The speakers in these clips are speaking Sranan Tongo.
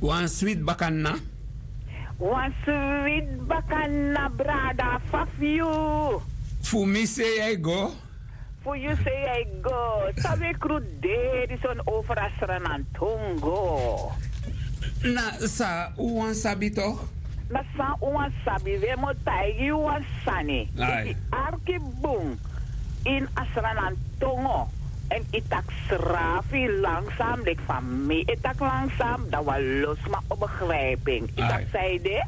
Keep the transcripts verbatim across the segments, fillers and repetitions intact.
Wan switi bakana. Wan switi bakana, brada. Fa fu yu? Fu mi sei a e go. Fu yu sei a e go. San wi e kruderi soni over a Sranantongo? Na san un wani sabi tok? Na san un wani sabi, wi e mu taigi yu wan sani. Efu yu arki bun ini a Sranantongo èn yu taki srafi langsam, leki fa mi e taki langsam, dan wan lo sma o begrijpi en. Yu taki san ede?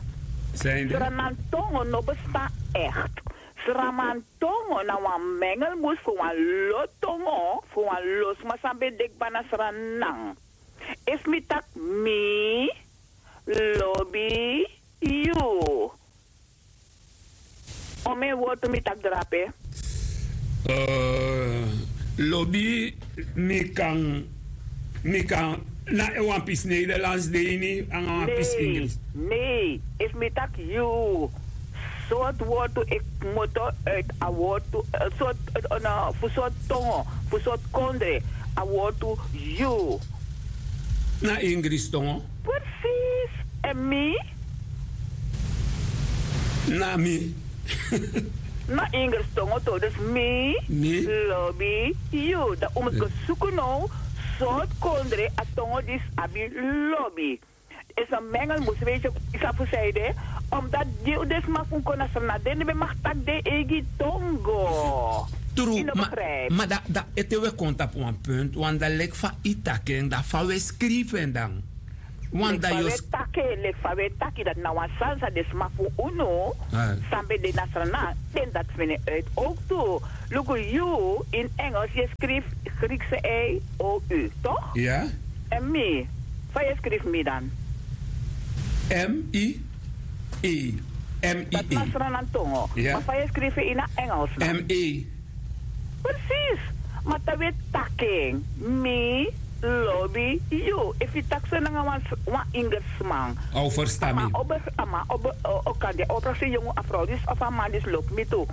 Sranantongo no bestan echt. Sranantongo na wan mengelmoes fu wan lo tongo fu wan lo sma san ben de kba na Sranan. Efu mi taki mi lobi yu. Omeni wortu mi taki drape? Lobi, mi kan, mi kan, na wan pisi Nederlands de ini nanga wan pisi Engels. Nee, efu mi taki yu, sortu wortu e kmoto uit a wortu, fu sortu tongo, fu sortu kondre, a wortu yu. Na Engels tongo. Precies. En mi? Na mi. Na Engels tongo to, dus mi lobi yu. Dan un mus go suku now sortu kondre a tongo disi abi lobi. Is a mengelmoes, weet je, yu sabi fu san ede? Omdat den sma fu un kon na Sranan, den no ben mag taki den eigi tongo. Tru, ma, ma dan, dan ete wi e kon tapu wan punt, want dan leki fa yu taki en, dan fa wi e skrifi en dan? Want dan yu o... Leki fa wi e taki en, leki fa wi e taki, dati na wan sani san den sma fu unu san ben de na Sranan, den dati feni en uit ook tu. Luku yu, in Engels yu e skrifi Griekse ei, o u, toch? Ya. En mi, fa yu e skrifi mi dan? M I E. M I E. Dati na Sranan tongo. Ya. Ma fa yu e skrifi en ini a Engels dan? M A. Precies. Ma te wi e taki en, mi lobi yu. Efu yu taki so nanga wan, wan Ingersman, a o ferstan mi. A man o be, a man o be, o, o kan de, o prakseri yongu, a frow disi of a man disi lobi mi tu.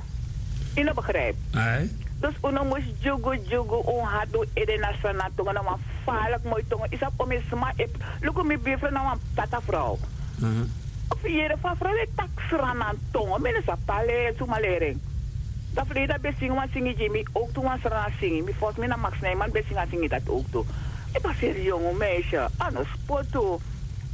Yu no begrijpi. Ai. Dus un no mus dyugu dyugu un hati, un ede na Sranan tongo, na wan faliki moi tongo. Yu sabi omeni sma e, luku mi birfrow na wan tata frow. Mhm. Efu yu yere fu a frow e taki Sranan tongo, mi no sabi pe a leri en, suma leri en. Dan ferleden a ben singi wan singi gi mi, ook tu wan Sranan singi. Mi fosi mi na Max Nijman ben singi a singi dati ook tu. Yu paseri yongu meisje, a no spotu.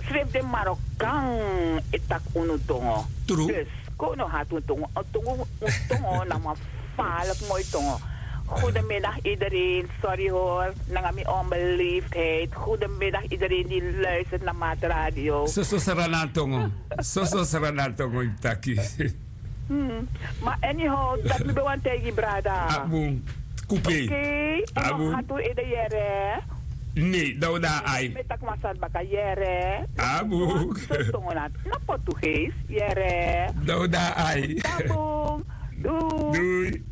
Srefi den Marokan e taki unu tongo. Tru. Dus kon un no hati un tongo. Un tongo, un tongo na wan faliki moi tongo. Goedemiddag iedereen, sorry hoor, nanga mi onbeleefdheid. Goedemiddag iedereen die luistert naar Maat Radio. Soso Sranan tongo. Soso Sranan tongo yu taki. Hmm. Ma anyhow, dati mi ben wani taigi brada. A bun. Kupe. Oké, a bun. Hati un ede yere. Nee, dan un de na ai. Mi e taki wan sani baka yere. A bun. Soso tongo na, na Portugees, yere. Dan un de na ai. Tabung. Doei. Doei.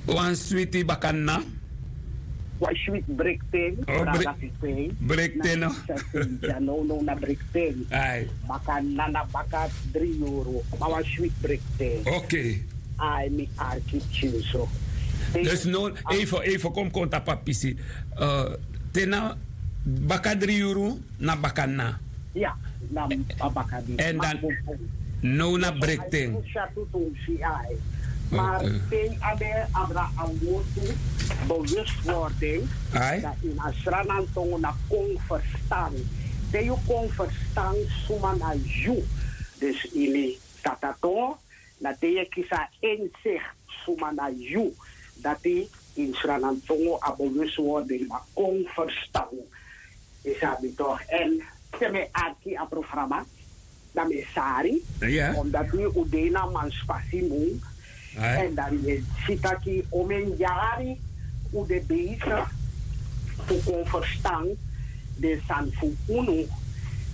Wan switi bakana. Wan switi brekten. Oh, brada bre-, Fifijn. Brekten, no? Na, na, na brekten. Ai. Baka na, na baka dri yuru. Ma wan switi brekten. Oké. Ai, mi arki pikinso. Dus no, even, even kon, kon tapu a pisi. Eh, te na baka dri yuru, na bakana. Ya, na a baka dri. En dan, now na brekten. Ai, ai. Oké. Maar te yu abi, abra a wortu bewustwording, ai, dan ini a Sranan tongo na kon ferstan. Te yu kon ferstan suma na yu. Dus ini Sranan tongo, na te yu e kisi a inzicht suma na yu. Dati ini Sranan tongo a bewustwording na kon ferstan. Yu sabi toch. En te mi e arki a programa, dan mi e sari. Ya. Omdat wi, un de na manspasi mun. Ai. En dan yu e si taki omeni yari un de bezig fu kon ferstan den sani fu unu.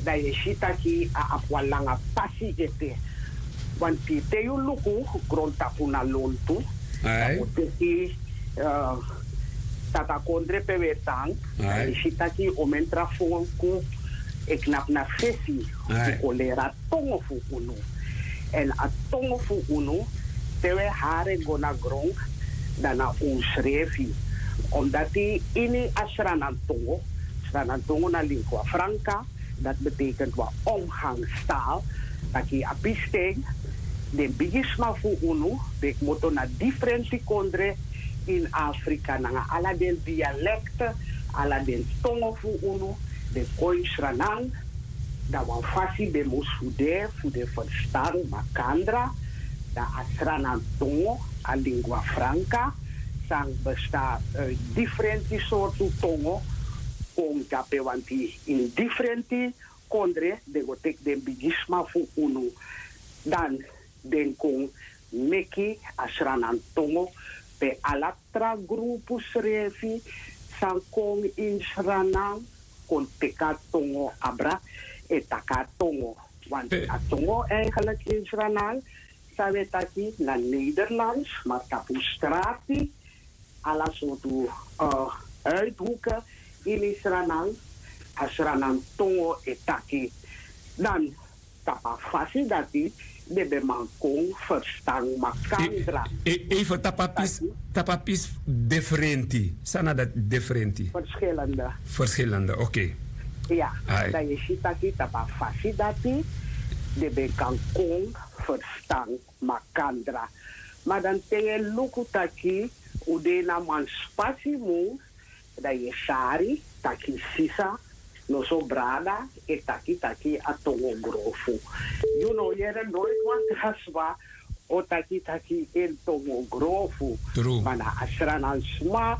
Dan yu e si taki a abi wan langa pasi ete. Want te yu luku grontapu na lontu, ai, dan un teki, eh, Tata Kondre pe wi e tan, ai, dan yu e si taki omeni tra folku e knapu na fesi, ai, fu kon leri a tongo fu unu. En a tongo fu unu, te wi e hari en go na gron, dan na unsrefi. Omdati ini a Sranantongo, Sranantongo na lingua franca, dat betekent wan omgangstaal, taki a pisten, den bigisma fu unu, den kmoto na difrenti kondre in Afrika, nanga ala den dialekte, ala den tongo fu unu, den kon in Sranan, dan wan fasi ben mus fu de, fu den ferstan makandra, dan a Sranantongo, a lingua franca, san bestan uit difrenti sortu tongo, kon dape wanti in difrenti kondre, den go teki den bigisma fu unu, dan den kon meki a Sranantongo, pe ala tra grupu srefi san kon in Sranan kon teki a tongo abra, e taki a tongo. Want a tongo eigenlijk in Sranan, san we taki na Nederlands, maar tapu strati, ala sortu, eh, uithoeken ini Sranan, a Sranantongo e taki. Dan tapu a fasi dati, den ben man kon ferstan makandra. Even tapu a pisi, tapu a pisi difrenti. San na dati difrenti? Verschillende. Verschillende, oké. Ya, dan yu si taki tapu a fasi dati, den ben kan kon ferstan makandra. Ma dan te yu e luku taki un de na manspasi mun, dan yu e sari taki sisa, noso brada, e taki taki a tongo grofu. Yu no yere noiti wan tra sma o taki taki en tongo grofu. Ma na a Sranan sma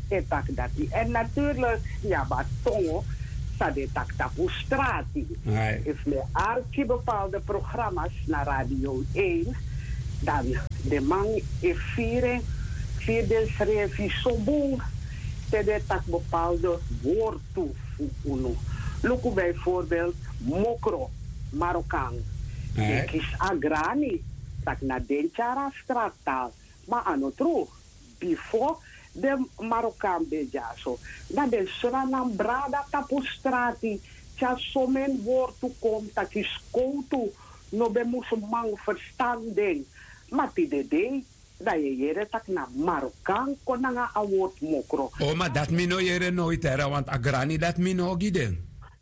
e taki dati. En natuurlijk yu abi a tongo san den e taki tapu strati. Efu mi e arki bepaalde programma's na Radio Een, dan den man e firi, firi densrefi so bun, te den e taki bepaalde wortu fu unu. Luku bijvoorbeeld mokro, Marokan. Den e kisi a grani, taki na den tyari a strattal. Ma a no tru. Bifo den Marokan ben dyaso, dan den Sranan brada tapu strati tyari someni wortu kon taki skowtu no ben mus man ferstan den. Ma tide dei, dan yu e yere taki na Marokan kon nanga a wortu mokro. O, ma dati mi no yere noiti, want a grani dati mi no o gi den.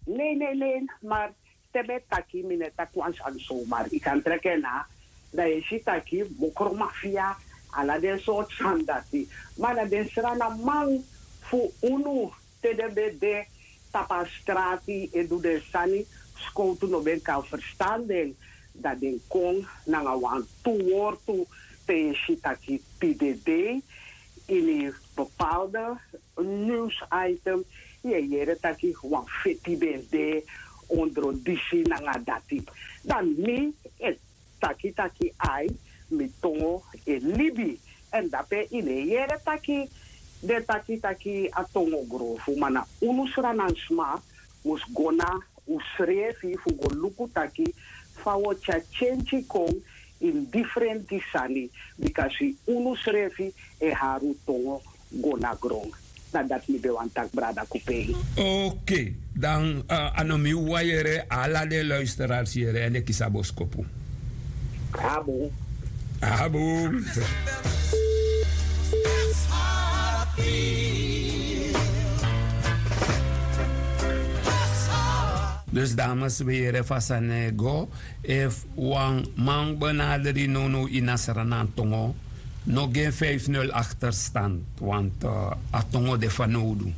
Nei, nei, nei, maar te mi e taki, mi no e taki wan sani somar. Yu kan treki en na, dan yu e si taki mokro mafia, ala den sortu sani dati. Ma na den Sranan man fu unu, te den ben de tapu a strati e du den sani, skowtu no ben kan ferstan den, dan den kon nanga wantu wortu, te yu e si taki tide dei, ini bepaalde nieuwsitem, yu e yere taki wan feti ben de ondro disi nanga dati. Dan mi e taki taki ai, mi tongo e libi. En dape yu no e yere taki den taki taki a tongo grofu, ma na unu Sranan sma mus go na unsrefi fu go luku taki fa wi o tyari tyentyi kon ini difrenti sani, bikasi unu srefi e hari un tongo go na gron. Na dati mi ben wani taki, brada Kupei. Oké, dan, eh, a no mi wawan yere, ala den luisteraars yere, èn den kisi a boskopu. Abu. Abu. Dus dames, we yere fa a sani e go. Efu wan man benaderi nownow ini a Sranan tongo, no gi en vijf nul achterstand, want, eh, a tongo de fanowdu.